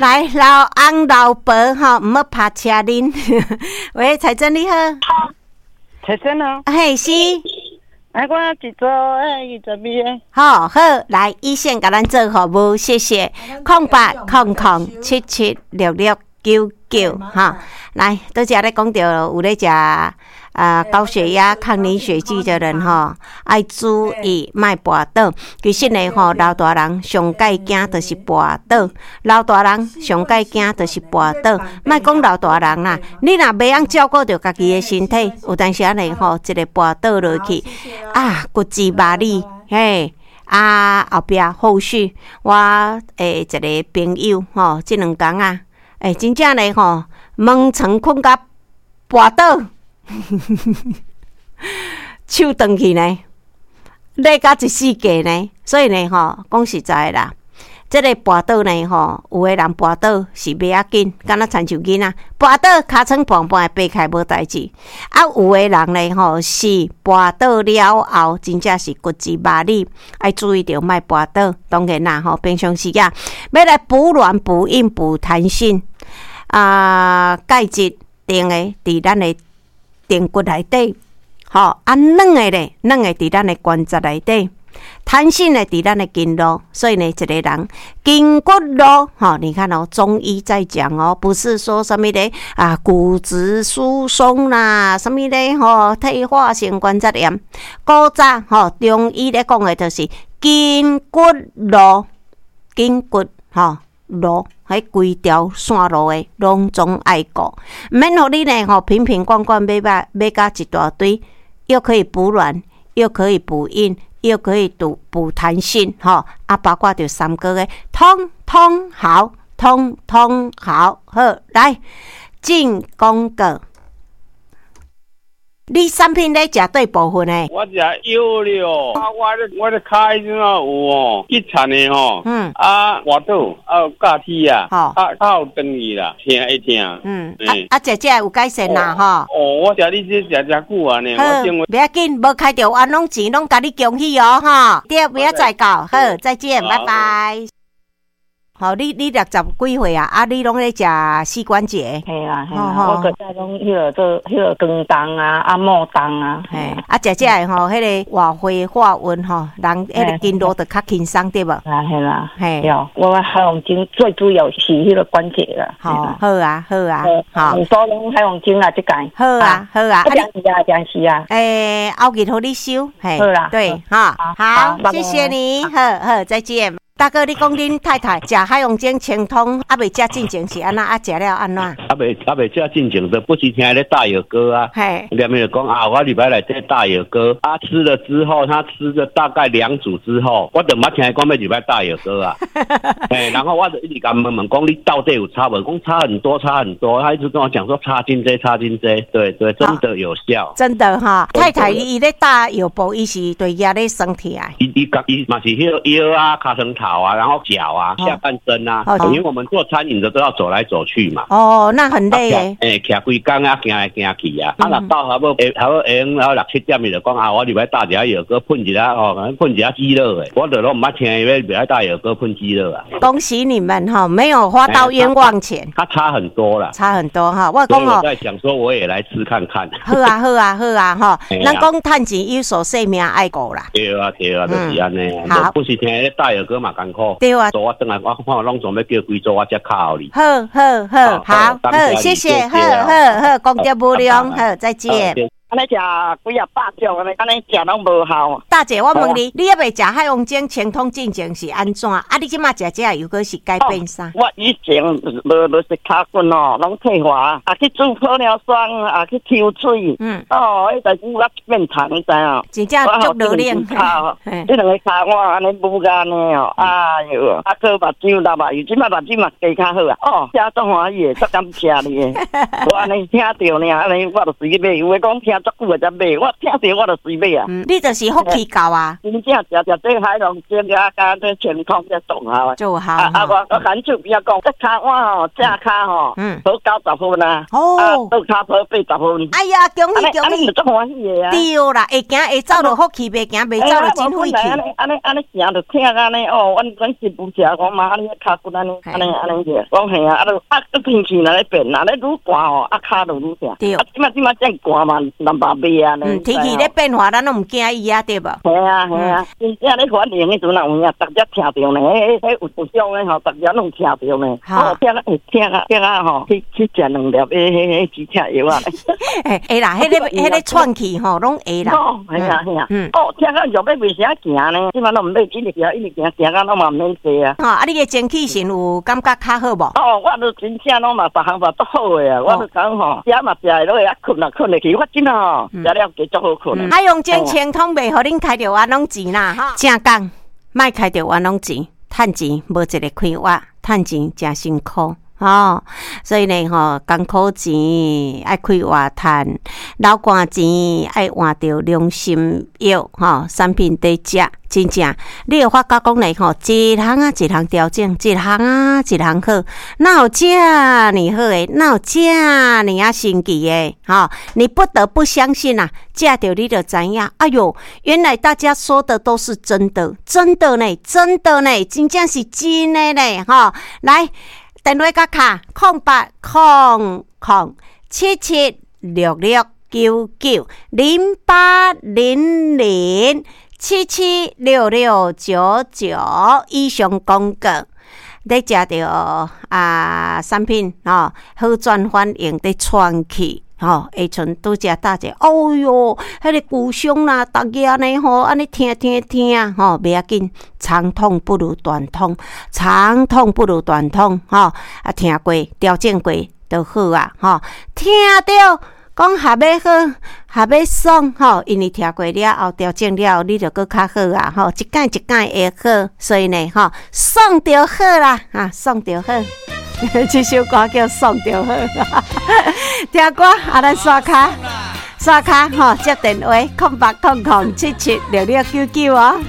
來，老翁老婆吼，毋好拍車輪。喂，彩珍你好。彩珍哦。嘿，是。哎，我一組22個。好好，來，一線共咱做服務，謝謝。0800776699，哈，來，拄才咧講著有咧食啊高血壓、抗凝血劑的人吼，愛注意莫跋倒。其實呢吼，老大人上蓋驚就是跋倒，老大人上蓋驚就是跋倒。莫講老大人啦，你若袂曉照顧著家己的身體，有當時仔呢吼，一个跋倒落去，啊，骨折麻里，嘿。啊，後壁後續我一个朋友吼，這兩工啊，真正咧吼，門床睏甲跋倒，手斷去呢，裂甲一世界呢，所以呢吼，講實在的啦，這个跋倒呢吼，有的人跋倒是袂要緊，敢若親像囡仔跋倒，尻川半半會爬起來無代誌。啊，有的人呢吼是跋倒了後，真正是骨折麻里，愛注意著莫跋倒。當然啦吼，平常時啊，欲來補軟、補硬、補彈性啊，鈣質定的佇咱的顳骨內底，吼啊軟的咧，軟的佇咱的關節內底。彈性的佇咱的筋絡，所以呢，一個人筋骨路，吼，你看哦，中醫在講哦，不是說啥物咧啊，骨質疏鬆啦，啥物咧吼，退化性關節炎，古早吼，中醫咧講的就是筋骨路，筋骨吼路，彼規條線路的攏總愛顧，毋免予你呢吼，瓶瓶罐罐買買買甲一大堆，又可以補軟，又可以補硬。又可以補補彈性，吼啊，包括著三高的，通通好，通通好，好來進廣告。你產品咧食佗部分的？我食腰了，啊，我咧跤彼陣啊有哦，骨殘的吼，啊，跋倒啊有轧鐵啊，啊，啊有斷去啦，疼會疼。啊啊，食食有改善啦，吼。哦，我食你這食誠久啊呢，好，我頂袂要緊，無開著冤枉錢，攏共你恭喜哦，吼。對，明仔載到，好，再見，拜拜。好，你60幾歲啊？啊，你攏咧食膝關節？嘿啦嘿啦，我閣早攏彼个做彼个光動啊，按摩動啊。嘿，啊，食食的吼，彼个活血化瘀吼，人彼个筋絡就較輕鬆對無？啦嘿啦，嘿，對，我海王精最主要是彼个關節啦。好，好啊，好啊，好。所攏海王精啊，這屆。好啊，好啊。啊，是啊，真是啊。後日予你收，嘿，好啦，對，哈，好，謝謝你，好好，再見。大哥，你講恁太太食海王精清通，猶未食進前是按怎？啊，食了按怎？猶未食進前的，不時聽咧大藥膏啊。兩面就講啊，我禮拜來這大藥膏啊，吃了之後，他吃了大概兩組之後，我就毋捌聽伊講欲入來大藥膏啊。然後我就一直共問問講，你到底有差無？講差很多，差很多。他一直跟我講說差真濟，差真濟。對對，真的有效。真的哈，太太伊咧打藥布，伊是對遐咧酸疼。伊伊伊嘛是彼个腰啊、尻川頭啊，然後腳啊、下半身啊，因為我們做餐飲的都要走來走去嘛。哦，那很累耶。徛規工啊，行來行去啊。啊，若到差不多下，差不多下昏後六七點，伊就講啊，我入來打一下藥膏，噴一下哦，噴一下肌肉的。我就攏毋捌聽伊欲入來打藥膏噴肌肉啊。恭喜你們哈，沒有花到冤枉錢。他差很多啦。差很多哈，我講哦。我在想說，我也來吃看看。好啊，好啊，好啊，吼。咱講趁錢有數，性命愛顧啦。對啊，對啊，就是按呢。好。不是聽咧大藥膏嘛艱苦。對啊。所以我轉來，我看攏總欲叫幾組，我才敲予你。好好好，好好，謝謝，好好好，功德無量，好，再見。按呢食幾仔百種，按呢按呢食攏無效。大姐，我問你，你猶未食海王精清通進前是按怎？啊，你這馬食這又閣是改變啥？我以前無無食尻骨哦，攏退化，啊去注玻尿酸，啊去抽水。哦，彼代誌我變長，你知影？真正足老練。這兩个跤我按呢舞安呢哦，哎喲，啊閣目睭流目油，這馬目睭嘛加較好啊。哦，遮足歡喜的，足感謝你的。我按呢聽著爾，按呢我就隨去買。有的講聽足久的才買，我聽著我就隨買啊。你就是福氣夠啊！真正食食這海龍精啊，佮這清空這綜合。做效。啊啊！我牽手邊仔講，這跤腕吼，正跤吼，好90分啊。哦。倒跤好80分。哎呀，恭喜恭喜！足歡喜的啊。對啦，會行會走就福氣，袂行袂走就真晦氣。按呢按呢按呢行就疼按呢哦，阮阮媳婦食講嘛，按呢跤骨按呢按呢按呢個，講嘿啊，啊啊天氣若咧變，若咧愈寒吼，啊跤就愈疼。對。啊，這馬這馬這寒嘛，南北袂啊。嗯，天氣咧變化，咱攏毋驚伊啊，對無？嘿啊嘿啊，真正咧反應彼陣若有影，逐只聽著呢，彼彼有有種的吼，逐只攏聽著呢。哦，疼啊會疼啊疼啊吼，去去食兩粒彼彼彼止疼藥啊。會啦，彼个彼个喘氣吼，攏會啦。哦，嘿啊嘿啊。哦，疼啊藥欲袂啥行呢，這馬攏毋免，一直行一直行，行到攏嘛毋免坐啊。吼，啊，你的精氣神有感覺較好無？哦，我都真正攏嘛，逐項嘛足好的啊！我都講吼，食嘛食會落去，啊睏嘛睏會去，我真吼食了加足好睏。海洋精清通袂予恁開著冤枉錢啦！哈，正講，莫開著冤枉錢，趁錢無一个快活，趁錢誠辛苦。吼，所以呢，吼，艱苦錢愛快活趁，流汗錢愛換著良心藥，吼，產品佇食，真正，你會發覺講呢，吼，一項啊一項調整，一項啊一項好，哪有遮爾好的，哪有遮爾仔神奇的，吼，你不得不相信啊，食著你就知影，哎喲，原來大家說的都是真的，真的呢，真的呢，真正是真的呢，吼，來。電話佮敲08007766990800776699以上廣告，咧食著啊產品吼，好轉反應佇喘氣。吼，會像拄才搭者，哦喲，彼个骨傷啦，逐日呢吼，按呢疼疼疼，吼，袂要緊，長痛不如短痛，長痛不如短痛，吼，啊，疼過，調整過就好啊，吼，疼著講還欲好，還欲爽，吼，因為疼過了後，調整了後，你就閣較好啊，吼，一擺一擺會好，所以呢，吼，爽就好啦，啊，爽就好。這首歌叫《爽就好》，聽歌啊，咱刷卡刷卡吼，接電話0800776699哦。